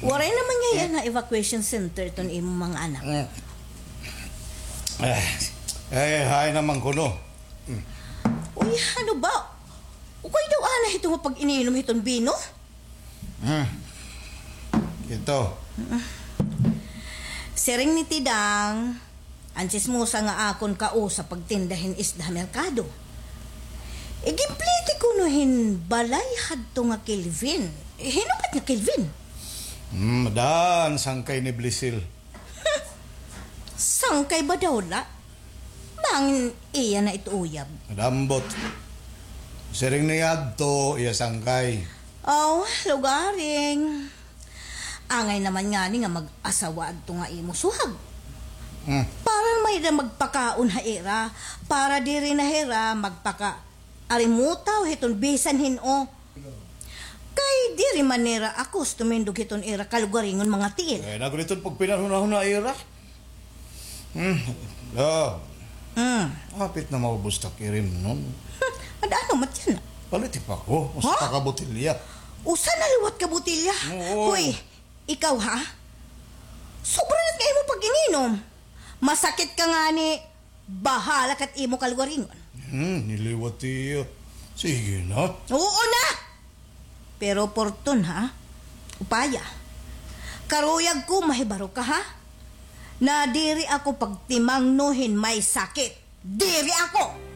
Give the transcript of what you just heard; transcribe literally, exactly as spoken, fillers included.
Waray naman ngay-an nga evacuation center iton imo mga anak. Mm. Eh, eh, hay naman kuno. Mm. Uy, ano ba? Ukay daw anay hito nga pag-ininom hiton bino? Hmm. Ito. Siring ni Tidang, an tsismosa nga akon kausa pagtinda hin isda ha merkado. Igimpliti kuno hin balay hadto nga Kelvin. Hin-o ba it nga Kelvin? Hmm, daan, sangkay ni Blisil. Sangkay ba daw la? Bangin iya na it uyab. Madambot. Siring niya adto, iya sangkay. Aw, lugaring. Angay naman ngani nga mag-asawa adto nga imo suhag. Hmm. Para may da magpakaon ha ira, para diri na hira magpaka-arimutaw hiton bisan hin-o. Kay diri man nira ako tumindog hiton ira kalugaringon mga tiil. Eh, nagriton pagpinanhunahuna ira. Hmm. Ah. Hmm. Apit na maubos ta kirimnon. Ada ano mat yan? Palit pa ko. Usa pa ka botilya. Usa na liwat ka botilya? Oo. Hoy, ikaw ha? Sobra na nga imo pag-ininom. Masakit ka ngani, bahala ka it imo kalugaringon. Hmm, niliwat iya. Sige na. Oo na! Pero Porton, ha? Upaya. Karuyag ko mahibaro ka, ha? Na diri ako pagtimangno hin may sakit. Diri ako!